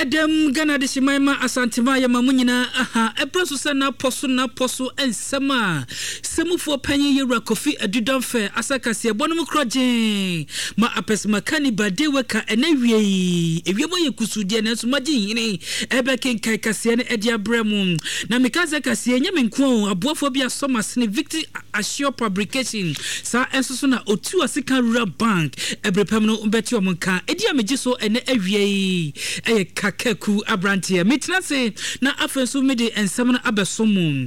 Ɛdɛm Ghana Adehyeman ma Asanteman yɛma mo nyinaa aha ɛberɛ so sɛ n'apɔ so n'apɔ so nsɛm a sɛmufoɔ panyin Yɛwura Kofi Adu Damfɛ asa kaseɛbɔ no mu korɔgyee ma apɛsɛmakani Bade Weka ɛnɛ wiei ewiem ayɛ kusuu deɛ nanso magye nhini ɛbɛkenkan kaseɛ no ɛde abrɛ mo na meka sɛ kaseɛ nyɛ me nko o aboafoɔ bi asɔ m'asene Victory Assure Publication, saa nso so na Otu Asika Rural Bank bere pa mu no bɛte wɔn nka. Edin a megye so ɛnnɛ awia yi yɛ Kakaku Abranteɛ. Metena ase na afei nso mede nsɛm no abɛso mo.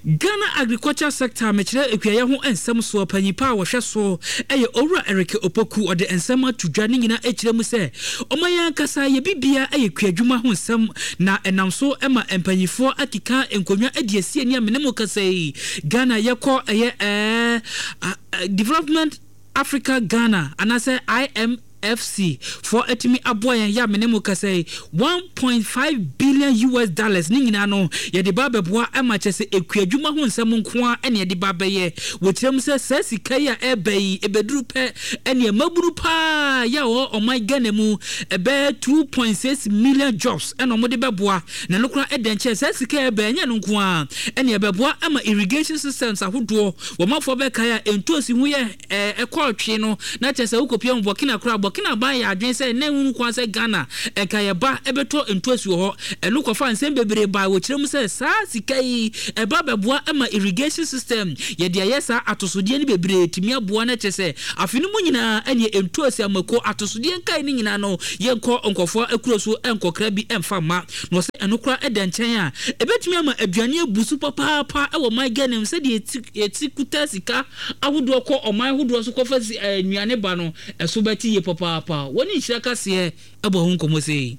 Ghana Agriculture Sector, mekyerɛ akuayɛ ho nsɛm soɔ panyin pa a wɔhwɛ so yɛ Owura Eric Opoku. Ɔde nsɛm ato dwa, ne nyinaa kyerɛ mu sɛ ɔman yi ankasa yɛ biribiara yɛ kuadwuma ho nsɛm na ɛnam so ma mpanimfoɔ akeka nkonnwa adi asi ani a me ne mo kasa yi. Ghana yɛkɔ ɛyɛ ɛɛ Development Africa Ghana anaasɛ IMFC foɔ atumi aboa yɛn yɛ a me ne mo kasa yi 1.5 billion US dollars ne nyinaa no yɛde ba abɛboa ɛma kyɛ sɛ ekuadwuma ho nsɛm nko ara ɛna yɛde ba abɛyɛ. Wɔkyerɛ mu sɛ saa sika yi a ɛreba yi ɛbɛduru pɛ ɛneɛ mmabunu paa yɛ a wɔwɔ ɔman Ghana mu ɛbɛyɛ 2.6 million jobs ɛna wɔde bɛboa. Na ɛno koraa ɛdɛn kyɛn saa sika a ɛba ɛnyɛ ɛno nko ara ɛne ɛbɛboa ama irrigation systems ahodoɔ wɔ manfoɔ bɛkae a ntoosi ho yɛ ɛkɔɔ twe no na kyerɛ sɛ wokɔpia mu Burkina koraa Burkina aban yɛ adwene sɛ na ɛnhunu kwan sɛ Ghana ɛnka yɛba ɛbɛtɔ ntoosi wɔ hɔ ɛno kɔfa nsɛm bebree bae wɔ kyerɛ mu sɛ saa sika yi ɛba bɛboa ama irrigation system yɛde ayɛ saa atosodeɛ no bebree tumi aboa na kyerɛ sɛ afe no mu nyinaa ɛneɛ ntoosi amako atosodeɛ nkae no nyinaa no Yɛnkɔ nkurɔfoɔ akuro so nkɔkra bi mfa mma. Na ɔsɛ ɛno koraa da nkyɛn a, ɛbɛtumi ama aduane abu so papaapa wɔ ɔman Ghana mu sɛdeɛ yɛti kuta sika ahodoɔ kɔ ɔman ahodoɔ so kɔfa nnuane ba no, ɛso bɛte yie papaapa. Wɔne Nhyira Kaseɛ bɔ ho nkɔmmɔ sei.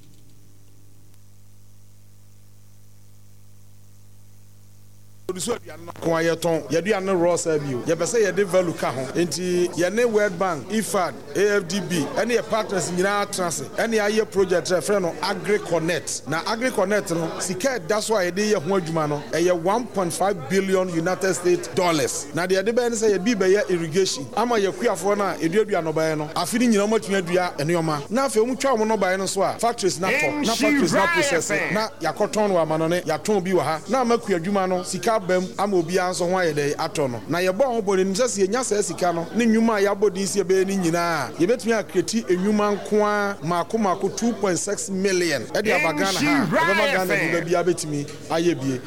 Produce aduane no nko ara yɛtɔn yɛaduane no raw saa bio. Yɛpɛ sɛ yɛde value ka ho. Enti yɛne World Bank, IFAD, AFDB ne yɛ partners nyinaa atena ase ne ayɛ project a yɛfrɛ no AgriConnect. Na AgriConnect no, sika a ɛda so a yɛde reyɛ ho adwuma no, ɛyɛ 1.5 billion United States dollars. Na deɛ yɛde bɛyɛ ne sɛ yɛde bi rebɛyɛ irrigation ama yɛn akuafoɔ no a ɛduadua nnɔbaeɛ no, afe no nyinaa wɔatumi adua nneɛma. Na afei wɔtwa wɔn nnɔbaeɛ no nso a, factories no atɔ, na factories no aprocesse, na yɛakɔtɔn no wɔ amanɔne, yɛatɔn bi wɔ ha, na ama kuadwuma no sika aba mu ama obiara nso ho ayɛ dɛn atɔ no. Na yɛbɔɔ ho bɔ no, yɛnim sɛ sɛ yɛnya saa sika no ne nnwuma a yɛabɔ din sɛ yɛbɛyɛ no nyinaa a, yɛbɛtumi akreti nnwuma nko ara mmaako mmaako 2.6 million de aba Ghana ha a, ɛbɛma Ghana nipa biara bɛtumi ayɛ bie.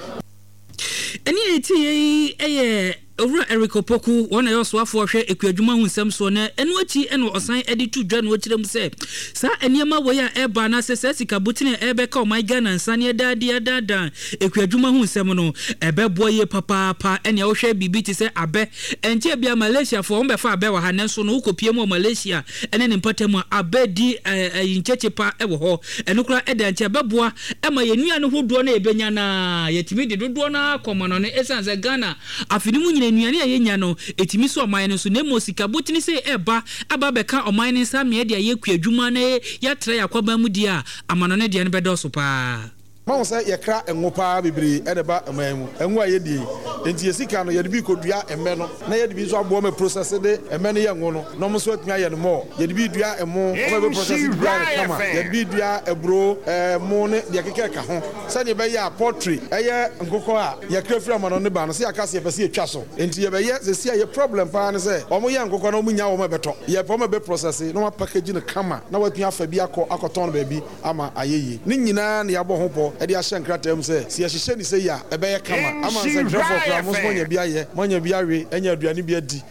Ɛnne a yɛtieeɛ yi yɛ Owura Eric Opoku, wɔn na ɛyɛ ɔsoafoɔ a ɔhwɛ ekuadwuma ho nsɛm soɔ, na ɛno akyi na ɔsan de to dwa na ɔkyerɛ mu sɛ saa nneɛma wei a ɛreba anaasɛ saa sika botene a ɛrebɛka ɔman Ghana nsa ne ɛda adi adaadaa ekuadwuma ho nsɛm no, ɛbɛboa yie papaapa. Ɛnea wohwɛ biribi te sɛ abɛ, ɛnkyɛɛ biara Malaysiafoɔ wɔbɛfa abɛ wɔ ha, nanso no wokɔpie mu wɔ Malaysia ne ne mpɔtam a, abɛ di ɛyi nkyekye pa wɔ hɔ. Ɛno koraa ɛda nti ɛbɛboa ma yɛn nnuane hodoɔ no a yɛbɛnya no ara, yɛtumi de dodoɔ no ara kɔ amanɔne ɛsiane sɛ Ghana Afe no mu nyinaa, nnuane a yenya no, etumi so ɔman no so, na mmom sika botene sei ɛreba aba abɛka ɔman no nsa amee de ayɛ kuadwuma na yɛatra yɛn akwaban mu deɛ a, amanɔne deɛ no bɛdɔɔso pa ara. Moahu sɛ yɛkra ngo pa ara bebree na ɛba ɔman yi mu, ngo a yɛdie yi. Enti yɛn sika no, yɛde bi rekɔdua mmɛ no, na yɛde bi nso aboa ma process de mmɛ no yɛ ngo no, na wɔn nso atumi ayɛ no more. Yɛde bi redua ɛmo, wɔn a yɛbɛ process de bi ayɛ no kama. Yɛde bi redua aburo, ɛmo ne deɛ ɛkeka ɛka ho. Sɛdeɛ ɛbɛyɛ a poultry ɛyɛ nkokɔ a yɛkra firi amanɔne ba no, sɛ yɛaka sɛ yɛpɛ sɛ yɛtwa so nti yɛbɛyɛ. Seesei a yɛ problem paa ne sɛ wɔn yɛ nkokɔ no wɔn nnya wɔn a ɛbɛtɔ. Yɛpɛ wɔn a ɛbɛ process na wɔn a package no kama na wɔatumi afa bi akɔ akɔtɔn no baabi ama ayɛ yie. Ne nyinaa na yɛabɔ ho pɔ de ahyɛ nkrataa mu sɛ, sɛ yɛhyehyɛ no sei a ɛbɛyɛ kama ama nsɛntwerɛfoɔ koraa mo nso moanya bi ayɛ, moanya bi awe, anya aduane bi adi.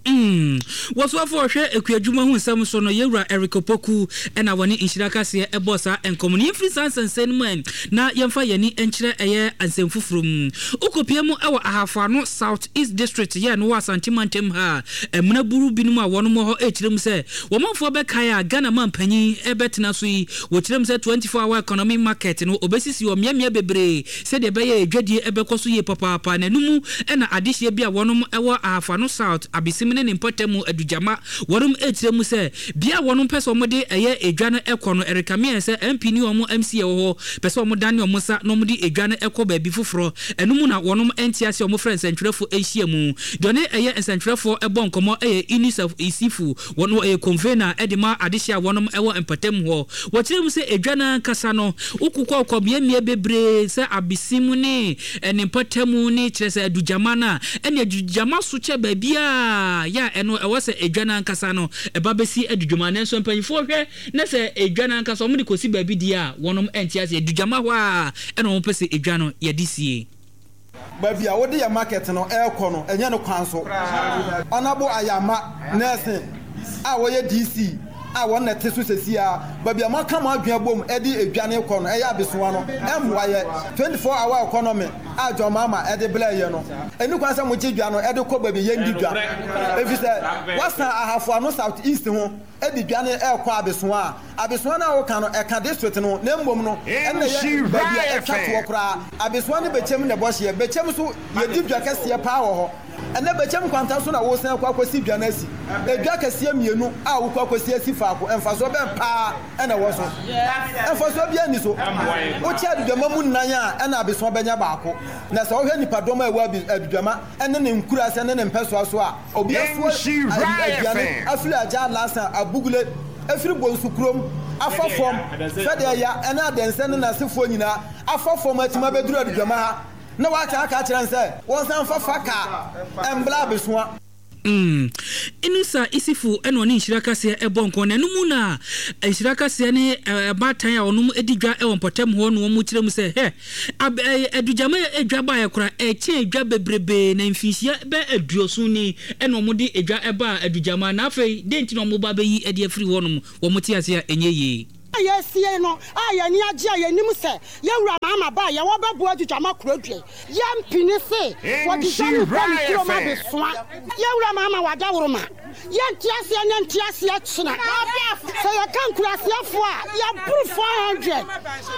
Mm. Wɔsoafo a ɔhwɛ ekuadwuma ho nsɛm so no, Yewura Eric Opoku na wɔne Nhyira Kaseɛ bɔɔ saa nkɔmmɔ no. Yɛmfiri saa nsɛnsɛm no mu ɛ, na yɛmfa yɛn ani nkyerɛ ɛyɛ nsɛm foforɔ mu. Wokɔpue mu wɔ Ahafo Ano South East District yɛ no wɔ Asante mantam ha a, mmenaburu binom a wɔnom wɔ hɔ rekyerɛ mu sɛ wɔn manfoɔ bɛkae a Ghana manpanyin rebɛtena so yi, wɔkyerɛ mu sɛ 24 hour economy market no wɔbɛsisi wɔ mmeammea bebree sɛdeɛ ɛbɛyɛ a adwadie bɛkɔ so yie papaapa na ɛno mu na adehyeɛ bi a wɔnom wɔ Ahafo-Ano South, Abesim. ne ne mpɔtam Adugyama wɔnom rekyerɛ mu sɛ bea a wɔnom pɛ sɛ wɔde ɛyɛ edwa no kɔ no ɛrekame ayɛ sɛ MP ne wɔn MC a ɛwɔ hɔ pɛ sɛ wɔdane wɔn nsa na wɔde edwa no kɔ baabi foforɔ. Ɛno mu na wɔnom nte aseɛ a wɔfrɛ nsɛntwerɛfoɔ nhyiamu. Deɛ ɔne ɛyɛ nsɛntwerɛfoɔ bɔ nkɔmmɔ yɛ Inusah Issifu, wɔn ɔyɛ convener de ma adehyeɛ a wɔnom wɔ mpɔtam hɔ. Wɔkyerɛ mu sɛ edwa no ankasa no wokokɔ kɔ mmeammea bebree sɛ Abesim ne ne mpɔtam ne kyerɛ sɛ Adugyama no a, ɛne Adugyama so kyɛ baabiara yɛ a ɛno ɛwɔ sɛ edwa no ankasa no ɛba bɛsi Adudwama. Nanso mpanyinfoɔ hwɛ na sɛ edwa no ankasa wɔde kɔsi baabi deɛ a, wɔnom nte aseɛ. Adugyama hɔ ara na wɔpɛ sɛ edwa no yɛde sie. Baabi a wode yɛ market no rekɔ no ɛnyɛ ne kwan so. Honourable Ayama Nelson a ɔyɛ DC a wɔn na ɛte so sɛsi ara, baabi a moaka mo adwene abom de edwa no rekɔ no ɛyɛ abesoa no ɛmmoa yɛ. 24 hour economy a John Mahama de brɛɛ yɛ no, ɛnni kwan sɛ mogye dwa no de kɔ baabi a yɛndi dwa efisɛ woasan Ahafo Ano South East ho de dwa no rekɔ abesoa a, abesoa no a woka no, ɛka district no ho, na mmom no, ɛno na ɛyɛ baabi a ɛtwa toɔ koraa. Abesoa ne Bɛkyɛm na ɛbɔ hyeɛ. Bɛkyɛm nso, yɛdi dwa kɛseɛ paa wɔ hɔ. Ɛnnɛ Bɛkyɛm nkwanta so na woresan akɔ akɔsi dwa no asi. Edwa kɛseɛ mmienu a wokɔ akɔsi asi faako, mfasoɔ bɛn paa na ɛwɔ so? Mfasoɔ biara nni so. Wokyɛ aduduama mu nnan a, ɛna abesoa bɛnya baako. Na sɛ wohwɛ nnipadɔm a ɛwɔ aduduama ne ne nkuraase ne ne mpɛsoa so a, Obi asoa aduane afiri Agya Alhassan Abugule afiri Bonsu kurom afa fam sɛdeɛ ya ɛne Adɛnsɛ ne n'asefoɔ nyinaa afa fam atumi abɛduru Adugyama ha na w'aka aka akyerɛ no sɛ wɔnsan mfa fa kaa mbra abesoa. Mm. Inusa Isifu na ɔne Nhyira Kaseɛ bɔ nkɔn na ɛno mu na Nhyira Kaseɛ ne abaatan a wɔnom di dwa wɔ mpɔtam hɔ na wɔn kyerɛ mu sɛ hɛ Ab ɛyɛ adugyama a edwa baeɛ koraa, ɛkyɛn edwa bebrebee, na mfinhyia bɛyɛ aduoson ni na wɔde edwa baa adugyama, na afei dɛn nti na wɔreba abɛyi de afiri hɔnom? Wɔte ase a ɛnyɛ yie. A yɛresie no a yɛn ani agye a yɛnim sɛ yɛn wura Mahama ba a yɛwɔ bɛboa adugyama kuro dua yi. Yɛmpene se wɔde dwa no kɔ ne kurom abesoa. Yɛn wura Mahama wadaworoma. Yɛnte aseɛ nnɛ nte aseɛ kyena. Sɛ yɛka nkuraseɛfoɔ a, yɛboro 400.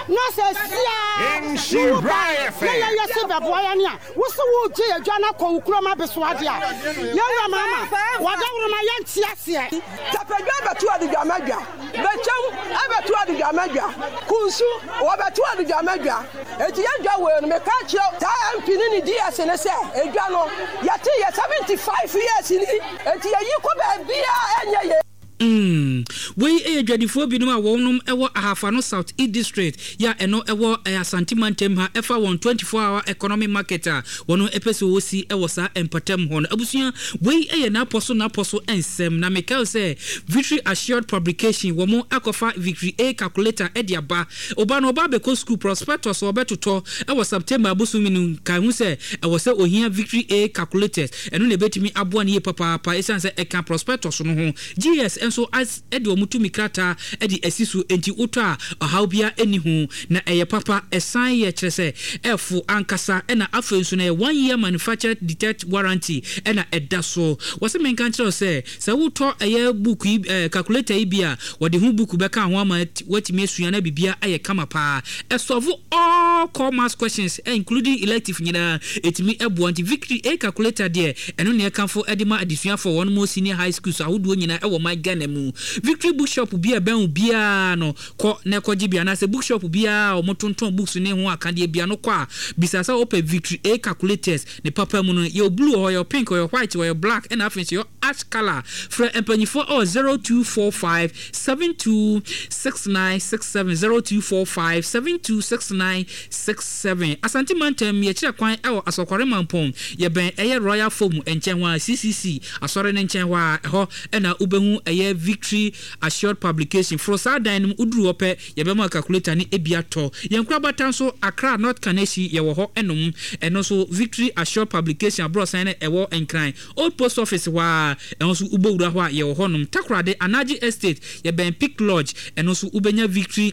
Na sɛ siaa ne wo ba na yɛyɛ se bɛboa yɛn a, wo se woregye yɛn dwa no akɔ wo kurom abesoa deɛ a, yɛn wura Mahama, wadaworoma yɛnte aseɛ. Tapadwa bɛto aduguama dwa. Bɛkyɛm bɛto aduguama dwa. Kunsu, wɔbɛto aduguama dwa. Enti yɛn dwa wei no, meka kyerɛ saa MP ne ne DS no sɛ, edwa no, yɛte yɛ 75 years ni, enti yɛyi kɔ baabiara ɛnyɛ yie. Mm. Wei yɛ dwadifoɔ binom a wɔnom wɔ Ahafo-Ano South East District yɛ a ɛno ɛwɔ Asante mantam ha ɛfa wɔn 24 hour economy market a wɔnom pɛ sɛ wɔsi wɔ saa mpatam hɔ no. Abusua, wei yɛ n'apɔ so n'apɔ so nsɛm na mekae sɛ Victory Assured Publication wɔn akɔfa Victory A calculator de aba. Oba no ɔba abɛkɔ sukuu, prospectus a ɔbɛtotɔ wɔ September abosome no mu, kae ho sɛ ɛwɔ sɛ ohia Victory A calculators. Ɛno na ɛbɛtumi aboa no yie papaapa ɛsiane sɛ ɛka prospectus no ho. GS nso de wɔn tumi krataa de asi so enti wotɔ a ɔhaw biara nni ho. Na ɛyɛ papa, ɛsan yɛ kyerɛ sɛ ɛfo ankasa ɛna afei nso no ɛyɛ one year manufactured detect warranty ɛna ɛda so. Wɔse menka nkyerɛ wo sɛ, sɛ wotɔ ɛyɛ book yi ɛɛ calculator yi bi a, wɔde ho book bɛka ho ama woatumi asua na biribiara ayɛ kama paa. Ɛsɔlvo all core maths questions including elective nyinaa, ɛtumi boa. Nti Victory A calculator deɛ, ɛno na yɛkamfo de ma adesuafoɔ a wɔnom wɔ senior high schools ahodoɔ nyinaa ɛwɔ man Ghana mu. Victory bookshop bi a ɛbɛn wo biara no, kɔ na kɔgye bi anaasɛ bookshop biara a wɔtontɔn books ne ho akadeɛ biara no kɔ a, bisa sɛ wopɛ Victory A calculators. Ne papa mu no, yɛwɔ blue wɔ hɔ, yɛwɔ pink, yɛwɔ white, yɛwɔ black ɛna afei nso yɛwɔ ash colour. Frɛ mpanyinfoɔ ɛwɔ 0245 72 6967, 0245 72 6967. Asante mantam, yɛkyerɛ kwan ɛwɔ Asɔkware Mampong, yɛbɛn ɛyɛ Royal Foam nkyɛn hɔ ara, CCC asɔre no nkyɛn hɔ ara, ɛhɔ ɛna wobɛhu ɛyɛ Victory Assured Publication. Foro saa dan no mu, woduru hɔ pɛ, yɛbɛma wo calculator no bi atɔ. Yɛn nkorabata nso, Accra, North Kaneshie, yɛwɔ hɔ nom. Ɛno nso, Victory Assured Publication aborɔsan no a ɛwɔ Nkran, Old Post Office hɔ ara, ɛhɔ nso wobɔwura hɔ a, yɛwɔ hɔ nom. Takoradi, Anagye Estate, yɛbɛn Peak Lodge, ɛno nso wobɛnya Victory.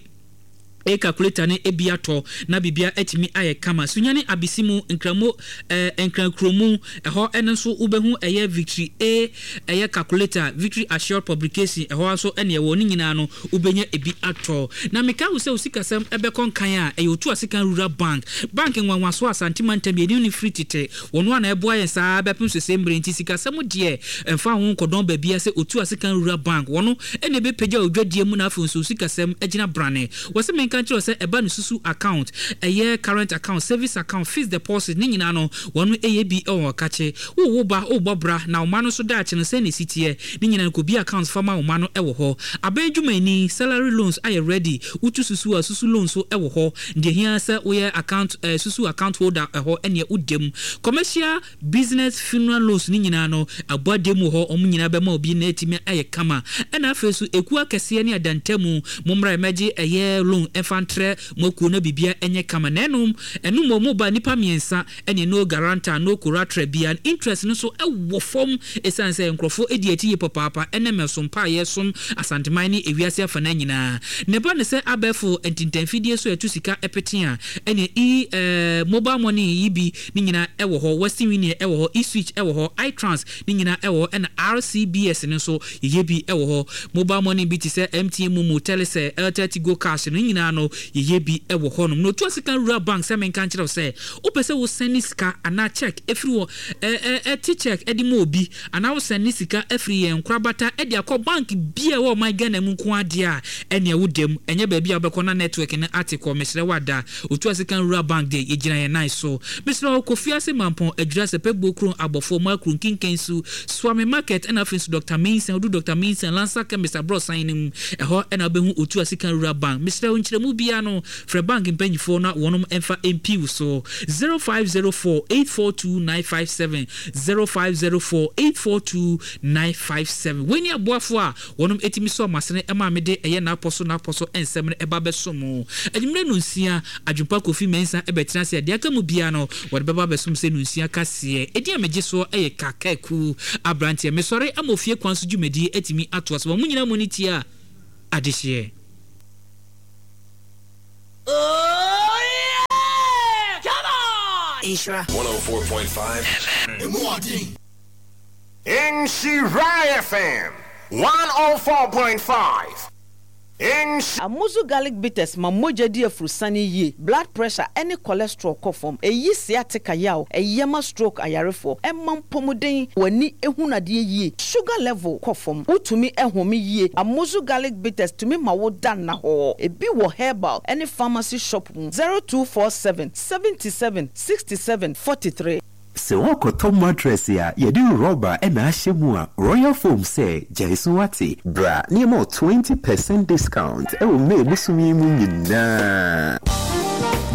A calculator no bi atɔ na biribiara atumi ayɛ kama. Sunyani Abisimu, Nkramo eh, Nkrankuromu, ɛhɔ no nso wobɛhu ɛyɛ Victory A ɛyɛ calculator, Victory Assured Publication, ɛhɔ ara nso ɛne ɛwɔ, ne nyinaa no wobɛnya ebi atɔ. Na mekae wo sɛ wo sikasɛm ɛbɛkɔ nkan a, ɛyɛ Otu Asekan Rural Bank, bank nwanwasoɔ a Asante mantam yɛnim no firi tete, wɔn ara na ɛboa yɛn saa ara bɛpem sese mmerɛ nti sikasɛm deɛ ɛmfa ho nkɔdɔn baabiara sɛ Otu Asekan Rural Bank, wɔn na ɛbɛpagya wo dwadie mu na afei nso wo sikasɛm agyina brane. Wɔse menka nkyerɛ wo sɛ ɛba no susu account, ɛyɛ current account, savings account, fixed deposit ne nyinaa no wɔn ɛyɛ bi wɔ ɔkakye. Wo wo ba wobɔ bra na wo mma no nso daakye no sɛn na ɛsi teɛ ne nyinaa no kɔbie account fa ma wo mma no wɔ hɔ. Aban dwumayɛni, salary loans ayɛ ready, wotu susu a susu loan nso wɔ hɔ. Deɛ ɛhia ara sɛ woyɛ account eh, susu account holder ɛhɔ ɛneɛ woda mu. Commercial. Business funeral loans no nyinaa no abɔ adeɛ mu wɔ hɔ, wɔn nyinaa bɛma obi na atumi ayɛ kama. Ɛna afei nso ekuo akɛseɛ ne adantamu, mommra mmɛgye ɛyɛ loan mfa ntrɛ mo akuo na biribiara nyɛ kama. Na ɛnom, ɛno mmom moba nnipa mmiɛnsa ɛneɛ no guarantor, no collateral biara, interest no nso wɔ fam ɛsiane sɛ nkorɔfoɔ di akyi yie papaapa ɛnɛ mɛsom pa a yɛsom Asanteman ne ewiase afanaa nyinaa. Na ɛba no sɛ abɛɛfo ntintanfidie so a ɛto sika pete a, ɛneɛ e eh, mobile money yi bi Ne nyinaa ɛwɔ hɔ, Western Union ɛwɔ hɔ, E-switch ɛwɔ hɔ, iTrans ne nyinaa ɛwɔ hɔ ɛna RCBS no nso yɛyɛ bi ɛwɔ hɔ. Mobile money bi te sɛ MTN Momo, Telecel, Airtel Tigo Cash no ne nyinaa no yɛyɛ bi ɛwɔ hɔ nom. Na otu ase kan Rural Bank sɛ menka nkyerɛ wo sɛ wopɛ sɛ wo sɛne sika anaa check ɛfiri wɔ ɛ ɛ te check ɛde ma obi anaa wo sɛne sika afiri yɛn nkorabata ɛde akɔ bank bi a ɛwɔ ɔman Ghana mu nko ara deɛ a ɛneɛ wo dam ɛnyɛ baabi a wobɛkɔ na network no ate kɔ mesrɛ wo ada Otuase kan Rural Bank deɛ yɛgyina yɛn nan so. Mesrɛ wo kɔ Fiase Mampɔn, Adwira, Sɛpɛbuo Kron, Abɔfoɔ, Makru, Nkinkansu, Suame Market ɛna afei nso Doctor Mensah, wodu Doctor Mensah, Lansa Chemist aborɔsan no mu, ɛhɔ ɛna wobɛhu Otuase kan Rural Bank. Mesrɛ wo nkyerɛmu biara no, frɛ bank mpanyifoɔ na wɔnom mfa mpi wo so. 0504 842 957, 0504 842 957. Wei ne aboafoɔ a Wɔnom tumi sɔɔ m'asene maa mede ɛyɛ n'apɔ so n'apɔ so nsɛm no ba bɛsom mo. Anwummerɛ nonsia, Adwempa Kofi Mensah bɛtena ase a deɛ aka mu biara no wɔde bɛba abɛsom sɛ nonsia kaseɛ. Edin a megye soɔ yɛ Kakaku Abranteɛ. Mesɔre ama ofie kwan so dwumadie atumi atoa so ma mo nyinaa mo ani tia adehyeɛ. Oh yeah! Come on! Nhyira. 104.5 FM. Emu ɔden. Nhyira FM 104.5 Nhy. Amuzu garlic bitters ma mogya di afurusane yie, blood pressure ne cholesterol kɔ fam, ɛyi sciatica yaw, ɛyɛ ma stroke ayarefoɔ, ɛma mpɔmuden, w'ani hunu adeɛ yie, sugar level kɔ fam, wotumi home yie. Amuzu garlic bitters tumi ma wo da nnahɔɔ. Ebi wɔ herbal ne pharmacy shop mu. 0247 77 67 43. Sɛ worekɔtɔ mattress a yɛde rɔba na ahyɛ mu a, Royal Foam sɛ gyae so wate. Bra na yɛma wo 20 percent discount wɔ May bosome yi mu nyinaa.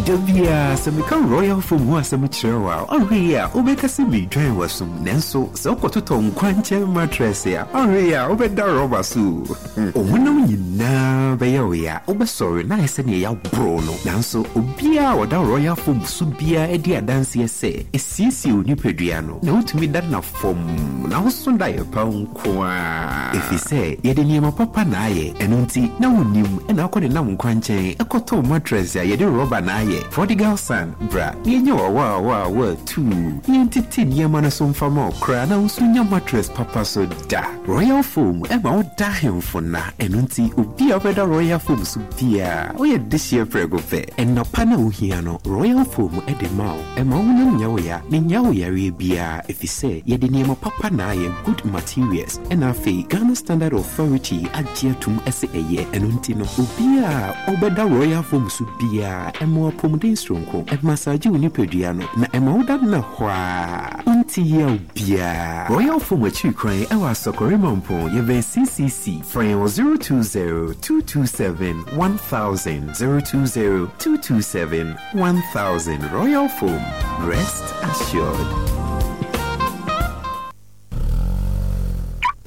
Da biara sɛ meka Royal Foam ho asɛm kyerɛ wo a, ɔnhwɛ yie a wobɛka sɛ meredwan w'asom. Nanso sɛ wokɔtotɔ nkwankyɛn mattress a, ɔnhwɛ yie a wobɛda rɔba so o. Wo honam nyinaa bɛyɛ wo ya, wobɛsɔre na ayɛ sɛ nea yɛaboro no. Nanso obiara a ɔda Royal Foam so biara di adanseɛ sɛ ɛsiesie wo nipadua no, na wotumi da nna fɔmm, na woso daeɛ pa nko ara. Ɛfiri sɛ yɛde nneɛma papa na ayɛ, ɛno nti na wonnim na wokɔ denam nkwankyɛn kɔtɔ mattress a yɛde rɔba na ayɛ. Prodigal son, bra na yɛnyɛ wo awaawaawaa tuu, na yɛntete nneɛma no so mfa ma wo koraa na wo nso nya mattress papa so da. Royal Foam ma wo da ahemfo nna, ɛno nti obi a ɔbɛda Royal Foam so biara, ɔyɛ dehyeɛ prɛko pɛ. Nna pa no a wohia no, Royal Foam de ma wo. Ɛmma wo honam nyɛ wo ya, na nnyaa wo yareɛ biara, efisɛ yɛde nneɛma papa na ayɛ, good materials, ɛna afei Ghana Standard Authority agye atum sɛ ɛyɛ. Ɛno nti no, obiara a ɔbɛda Royal Foam so biara, ɛma wo apɔmuden soronko, ɛmasaagye wo nipadua no, na ɛma woda nna hɔ ara, wonte yaw biara. Royal Foam akyiri kwan wɔ Asɔkɔre Mampong, yɛbɛn CCC. Frɛ yɛn wɔ 020 227 1000, 020 227 1000. Royal Foam, rest assured.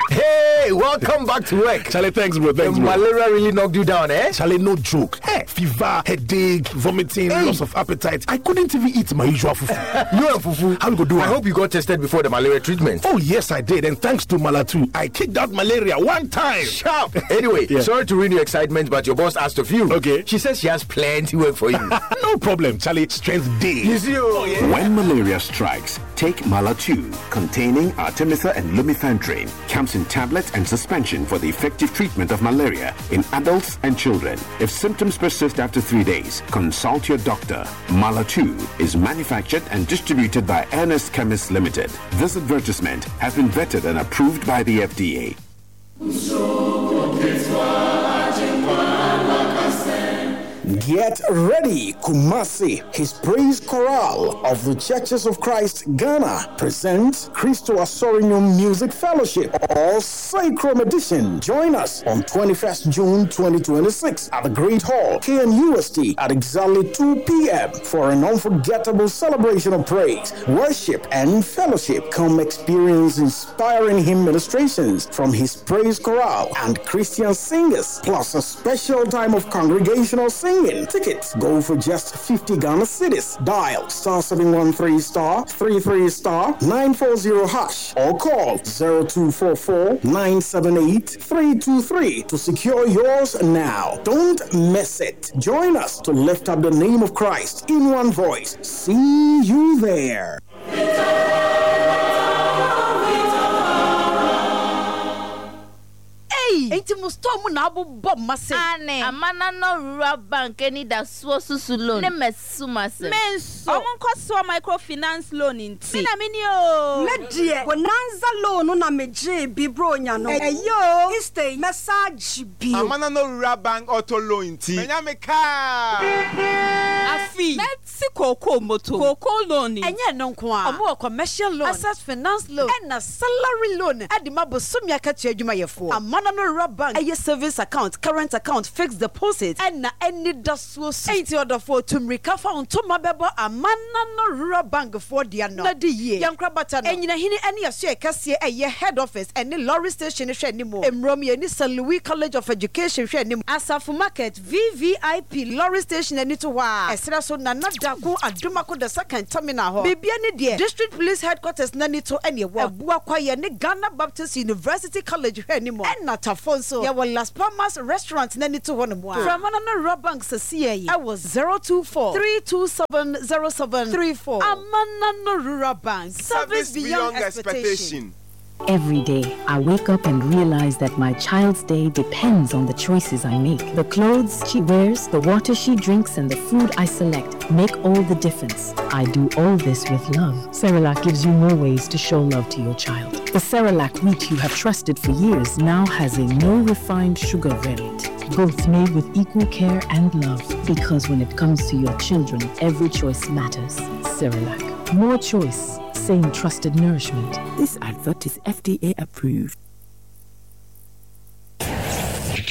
Hey, welcome back to work. Charlie, thanks, bro. Thanks, the bro. Malaria really knocked you down, eh? Charlie, no joke. Hey, Fever, headache, vomiting, hey. loss of appetite. I couldn't even eat my usual fufu. you and fufu? How we go do I hope you got tested before the malaria treatment. Oh, yes, I did. And thanks to Malatu, I kicked out malaria one time. Sharp. Anyway, yeah. sorry to ruin your excitement, but your boss asked of you. Okay. She says she has plenty work for you. no problem, Charlie. Strength day. You see, oh, yeah. When malaria strikes, take Malatu, containing artemether and lumefantrine. Comes in tablets and suspension for the effective treatment of malaria in adults and children. If symptoms persist after three days, consult your doctor. Malatu is manufactured and distributed by Ernest Chemists Limited. This advertisement has been vetted and approved by the FDA. Get ready, Kumasi. His Praise Chorale of the Churches of Christ Ghana presents Christo Asorium Music Fellowship or Sacrum Edition. Join us on 21st June 2026 at the Great Hall, KNUST, at exactly 2 p.m. for an unforgettable celebration of praise, worship, and fellowship. Come experience inspiring hymn ministrations from His Praise Chorale and Christian singers, plus a special time of congregational singing. Tickets go for just 50 Ghana cedis. Dial star 713 star 33 star 940 hash or call 0244 978 323 to secure yours now. Don't miss it. Join us to lift up the name of Christ in one voice. See you there. Ei! Enti mo store mu na abobɔ mma sei? Aane. Amanano Rural Bank anidasoɔ susu loan ne mɛsum asɛm. Me nso. Ɔmo nkɔsoɔ micro finance loan nti. Me na me ni oo. Me deɛ bonanza loan no na me gyee bi bronya no ɛyɛ oo Easter yi mɛsan agye bio. Amanano Rural Bank auto loan nti manya me car. Afei. Mɛte kookoo moto. Kookoo loan nti. Ɛnyɛ ɛno nko ara, wɔwɔ commercial loan, access finance loan, ɛna salary loan de ma bosome akatua adwumayɛfoɔ. Amanano Rural Bank yɛ savings account, current account, fixed deposit, ɛna anidasoɔ su. Enti ɔdɔfoɔ, tu mmirika fa wo ntoma bɛbɔ Amanano Rural Bank foɔ dea no na di yie. Yɛn nkorabata no, Anyinahini ne Asoɛe Kɛseɛ ɛyɛ Head Office ɛne Lorry Station hwɛ anim. Mmrom, yɛne St. Louis College of Education hwɛ anim. Asafo Market, VVIP lorry station ani to hɔ ara, ɛserɛ so Nana Darko Adomako the second terminal hɔ. Biribi ani deɛ, District Police Headquarters no ani to ɛne ɛwɔ. Abua Kwaeɛ ne Ghana Baptist University College hwɛ anim. Ɛna Tafo nso, yɛwɔ Las Palmas Restaurant no ani to hɔ nom ara. Frɛ Amanano Rural Bank sɛsiɛ yi ɛwɔ 024 327 0734. Amanano Rural Bank, service beyond expectation. Every day, I wake up and realize that my child's day depends on the choices I make. The clothes she wears, the water she drinks, and the food I select make all the difference. I do all this with love. Cerelac gives you more ways to show love to your child. The Cerelac wheat you have trusted for years now has a no refined sugar variant. Both made with equal care and love. Because when it comes to your children, every choice matters. Cerelac. More choice, same trusted nourishment. This advert is FDA approved.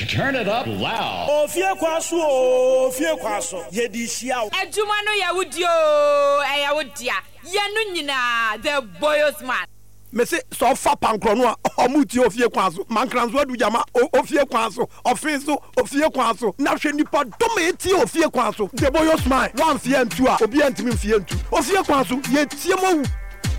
Turn it up loud. Ofie kwa so oo, ofie kwa so, yɛde hyia wo. Adwuma no yɛ wo dea oo, ɛyɛ wo dea, yɛ no nyinaa, The Boyos Man. Mese sɛ ɔfa pankorɔ no a ɔmo tie ofie kwan so mankranso adu gyama ofie kwan so ɔfee so ofie kwan so na hwɛ nipa dɔm a etie ofie kwan so deboyo smile wanfie antu a obiaa ntumi nfie ntu ofie kwan so yɛtie mo awu.